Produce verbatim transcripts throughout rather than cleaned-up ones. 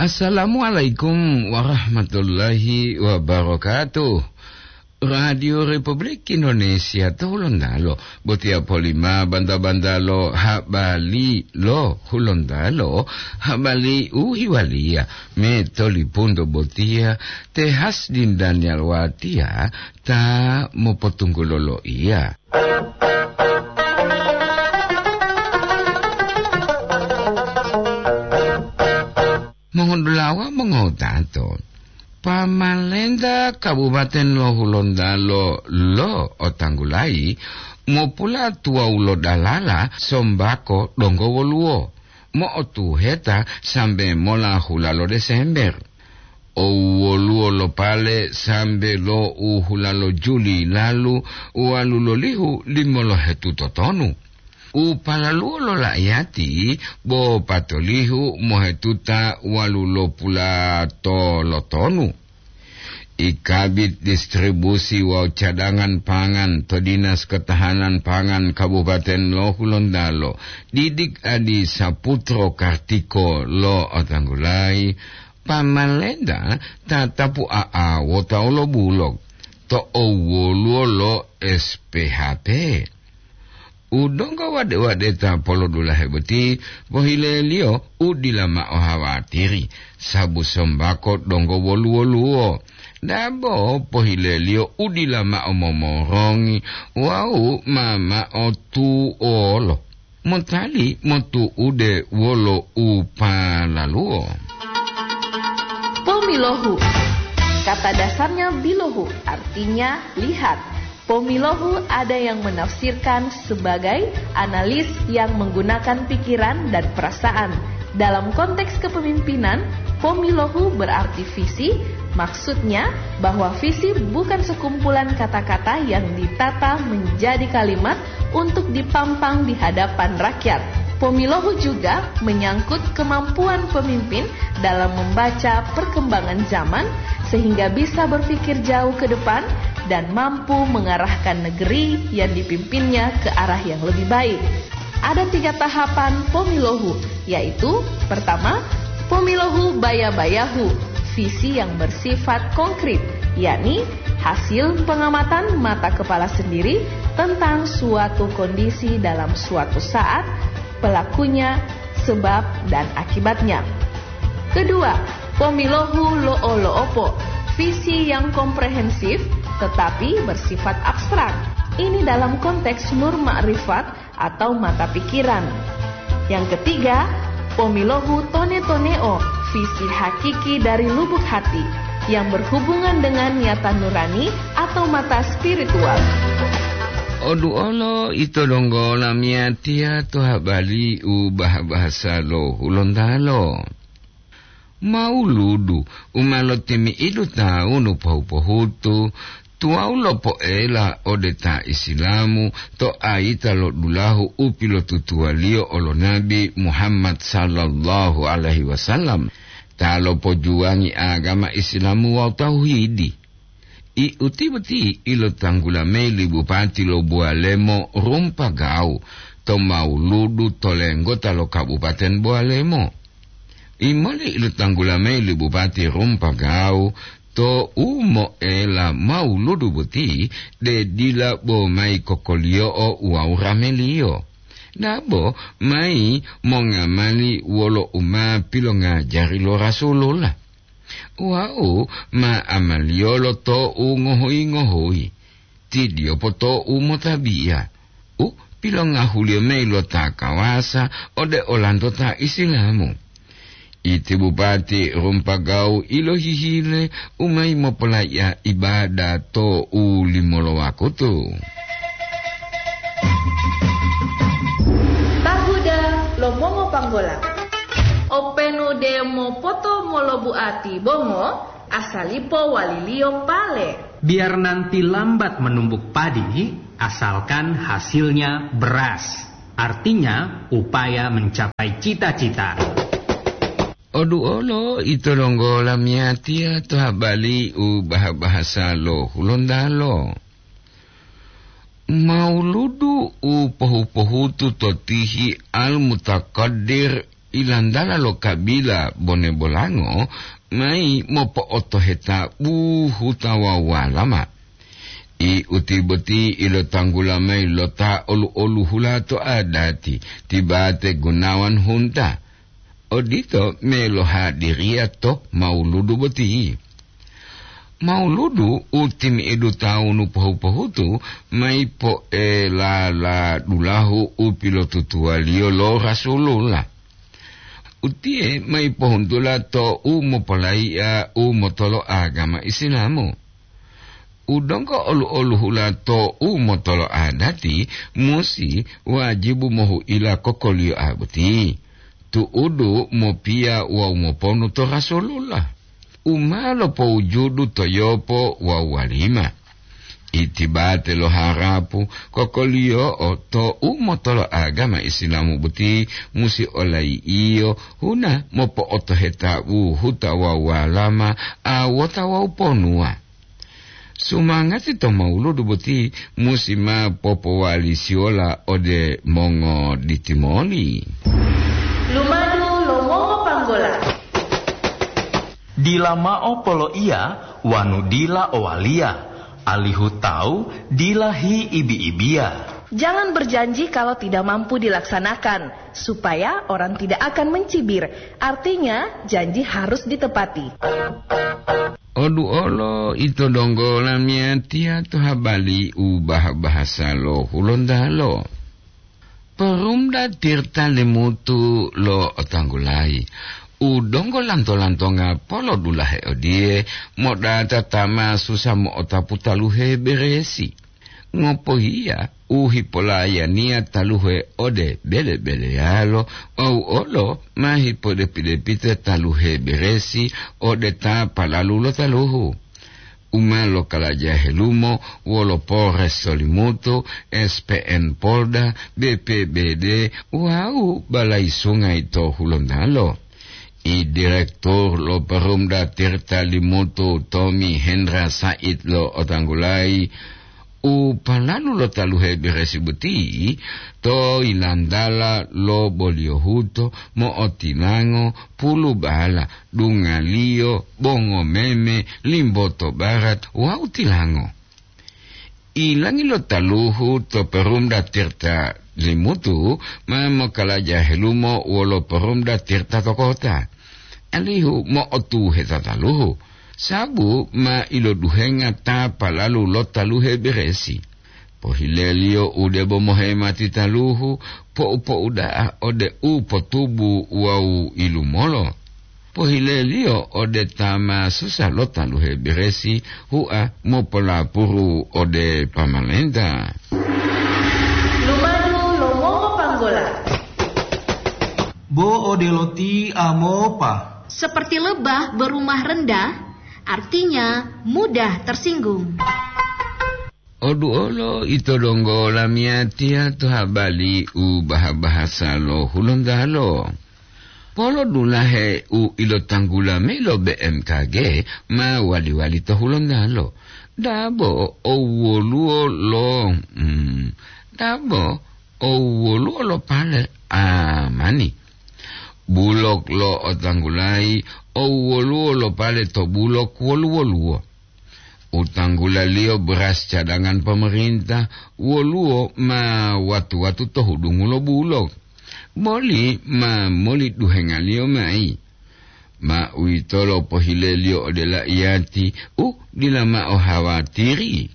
Assalamualaikum warahmatullahi wabarakatuh. Radio Republik Indonesia to Hulontalo, botiya polima banta-banta lo habari lo Hulontalo, habari u hiwaliya me tolipunto botiya te Hasdin Daniel Watiya ta mopotunggulo loiya. Mongodulawa mongotato, pamalenta Kabupaten lo Hulontalo lo otanggulayi mopulatuwawu lo dalala sombako donggo woluwo mo'otuheta sambe mola hula lo Desember. Owoluwo lo pale sambe lo u hula lo Juli lalu walu lolihu limolohetu totonu. U palaluwo lo la'iyati bo patolihu mohetuta walu lo pulato lotonu. I Kabid Distribusi wawu Cadangan Pangan to Dinas Ketahanan Pangan Kabupaten lo Hulontalo, Didik Adi Saputro Kartiko lo otanggulayi, pamalenta tatapu a'awota lo bulog to owoluwo lo S P H P. U donggo wade-wadeta polodulahe boti pohileliyo u dila mao hawatiri, sabu sombako donggo wolu-woluwo. Dabo pohileliyo u dila mao momorongi wawu ma mao tuolo. Motali motu'ude wolo u palaluwo. Pomilohu. Kata dasarnya bilohu, artinya lihat. Pomilohu ada yang menafsirkan sebagai analis yang menggunakan pikiran dan perasaan. Dalam konteks kepemimpinan, pomilohu berarti visi, maksudnya bahwa visi bukan sekumpulan kata-kata yang ditata menjadi kalimat untuk dipampang di hadapan rakyat. Pomilohu juga menyangkut kemampuan pemimpin dalam membaca perkembangan zaman sehingga bisa berpikir jauh ke depan dan mampu mengarahkan negeri yang dipimpinnya ke arah yang lebih baik. Ada tiga tahapan pomilohu, yaitu, pertama, pomilohu baya-bayahu, visi yang bersifat konkret, yakni hasil pengamatan mata kepala sendiri tentang suatu kondisi dalam suatu saat, pelakunya, sebab, dan akibatnya. Kedua, pomilohu lo'o-lo'opo, visi yang komprehensif tetapi bersifat abstrak. Ini dalam konteks nur makrifat atau mata pikiran. Yang ketiga, pomilohu tone-toneo, visi hakiki dari lubuk hati yang berhubungan dengan niatan nurani atau mata spiritual. Oduolo ito donggo lamiyatiya to habari u bah-bahasa lo Hulontalo. Mauludu u ma lotimi'idu tawunu pohu-pohutu, tuwawu lopoela ode ta Isilamu to ayita lo dulahu u pilotutuwaliyo olo Nabi Muhammad sallallahu alaihi wasallam, ta lopojuwangi agama Isilamu wawu tauhidi. I uti boti ilotanggula mayi li bupati lo Buwalemo Rumpagau to mauludu to lenggota lo Kabupaten Buwalemo. Imoli ilotanggula mayi li bupati Rumpagau to u moela mauludu boti de dila bo mayi kokoliyo'o wawu rameliyo. Dabo mayi mongamali wolo u ma pilongajari lo Rasulullah. Wau ma amaliyolo to u ngohuyi-ngohuyi, tidiyopo to u motabiya, u pilongahuliyo mayi lo ta kawasa ode olanto ta Isilamu. Iti bupati Rumpagau ilohihile u mayi mopolaiya ibada to u limolo wakutu. Tahuda lo mongopanggola. Openu de mopoto molobuati bongo, asalipo waliliyo pale. Biar nanti lambat menumbuk padi, asalkan hasilnya beras. Artinya, upaya mencapai cita-cita. Oduolo ito donggo lamiyatiya to habari u bah-bahasa lo Hulontalo. Mauludu u pohu-pohutu to tihi Al-Mutaqaddir Ilantala lo kabila Bone Bolango mayi mopo'otoheta buhuta wawu walama. I uti boti ilotanggula mayi lo ta olu-oluhula to adati, ti Bate Gunawan Hunta. Odito melohadiriya to mauludu boti. Mauludu u timi'idu tawunu pohu-pohutu mayi poelala dulahu u pilotutuwaliyo lo Rasulullah. Utiye mayi pohuntula to u mopolayi'a u motolo agama Isilamu. U donggo olu-oluhula to u motolo adati musi wajibu mohu'ila kokoliyo'a boti, tu'udu mopiya wawu moponu to Rasulullah u ma lopowujudu to yopo wawu walima. Itibate lo harapu kokoliyo'o to u motolo agama Isilamu boti musi olayi'iyo huna mopo'otoheta buhuta wawu walama, awota wawu ponuwa. Sumangati to mauludu boti musi ma popowalisiyola ode mongoditimoli. Lumadu lo mongopanggola. Dila mao poloiya wanu dila owaliya, alihu tawu dila hiibi-ibiya. Jangan berjanji kalau tidak mampu dilaksanakan, supaya orang tidak akan mencibir. Artinya, janji harus ditepati. Odu olo ito donggo lamiyatiya to habali u baha-bahasa lo Hulontalo. Perumda Tirta Limutu lo otanggulayi, u donggo lanto-lantonga polodulahe odiye, modata ta ma susa mo'otapu taluhe beresi. Ngopohiya u hipolayaniya taluhe ode bele-beleyalo, wawu olo ma hipodepi-depita taluhe beresi ode ta palalu lo taluhu. U ma lokalaja helumo wolo Polres Solimutu, S P N Polda, B P B D, wawu Balai Sungai to Hulontalo. I Direktur lo Perumda Tirta Limutu Tommy Hendra Said lo otanggulayi, u palalu lo taluhe beresi boti to ilantala lo boliyohuto mo'otilango pulubala, dungaliyo, bongo meme, limboto barat wawu tilango. Ilangi lo taluhu to Perumda Tirta Limutu ma mokalaja helumo wolo Perumda Tirta to kota, alihu mo'otuheta taluhu, sabu ma iloduhenga ta palalu lo taluhe beresi. Pohileliyo u debo mohemati taluhu, po'u-po'u da'a ode u potubu wawu ilumolo. Pohileliyo ode ta ma susa lo taluhe beresi, hua mopolapuru ode pamalenta. Lumadu lo mongopanggola. Bo odelo ti amopa. Seperti lebah berumah rendah, artinya mudah tersinggung. Odu olo ito donggo lamiyatiya to habali u baha-bahasa lo Hulontalo. Polodulahe u ilotanggula mayi lo B M K G ma wali-wali to Hulontalo. Dabo owoluwo lo, mm, dabo owoluwo lo pale amani. Bulok lo otanggulayi owoluwo lo pale to bulok woluwo-luwo. U tanggulaliyo beras cadangan pemerintah, woluwo ma watu-watu to hudungu lo bulok. Moli ma moli duhengaliyo mayi. Ma uwitolo pohileliyo ode laiyati u dila mao hawatiri.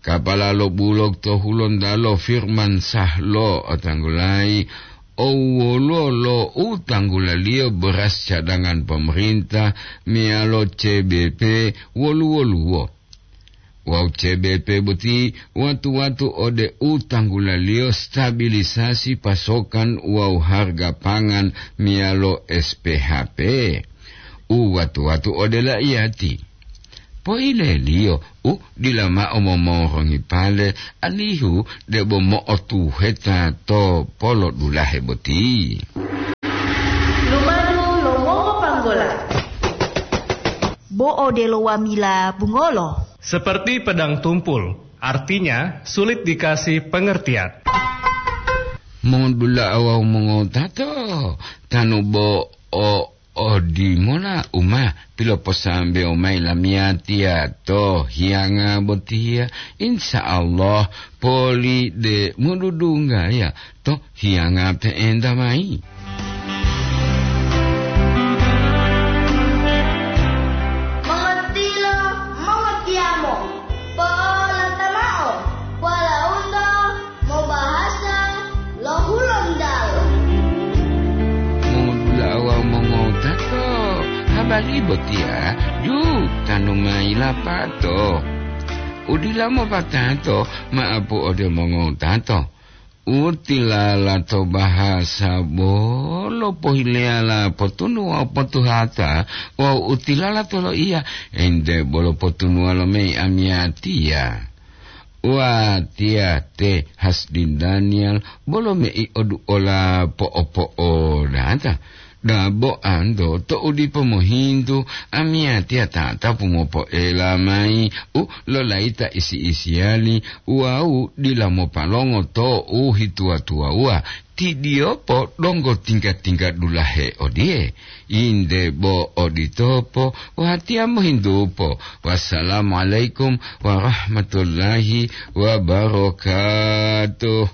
Kapala lo bulok to Hulontalo Firman Sah lo otanggulayi, owoluwo lo u tanggulaliyo beras cadangan pemerintah meyalo C B P wolu-woluwo. Wawu C B P boti watu-watu ode u tanggulaliyo stabilisasi pasokan wawu harga pangan meyalo S P H P. U watu-watu ode laiyati. Poileliyo u dila mao momorongi pale, alihu debo mo'otuheta to polodulahe boti. Lumadu lo mongopanggola. Bo odelo wamila bungolo. Seperti pedang tumpul, artinya sulit dikasih pengertian. Modula'a wawu mongotato, tanu bo o odimola uma piloposambewo mayi lamiyatiya to hiyanga botiya, insya Allah poli de modudunggaya to hiyanga pe'enta mayi. Mongotiyo, mongotiyamo, po'olata mao, walaundo mobahasa lo Hulontalo. Modula'a wawu mongotato, habari botiya ju tanu mayi lapato. Udila mopatato ma'apu ode mongotato. Utilala to bahasa bolo pohileyala potunu wawu potuhata, wawu utilala to loiya ente bolo potunuwa lo mei amiyatiya. Watiya te Hasdin Daniel bolo mei oduola po'opo'odata. Dabo anto to'u dipo mohintu, amiyatiya tatapu mopoela mayi u lolaita isi-isiyali wawu dila mopalongo to'u hituwa-tuwawuwa, tidiyopo donggo tingga-tingga dulahe odiye, "Inde bo oditopo, watiya mohintupo. Wassalamualaikum warahmatullahi wabarakatuh."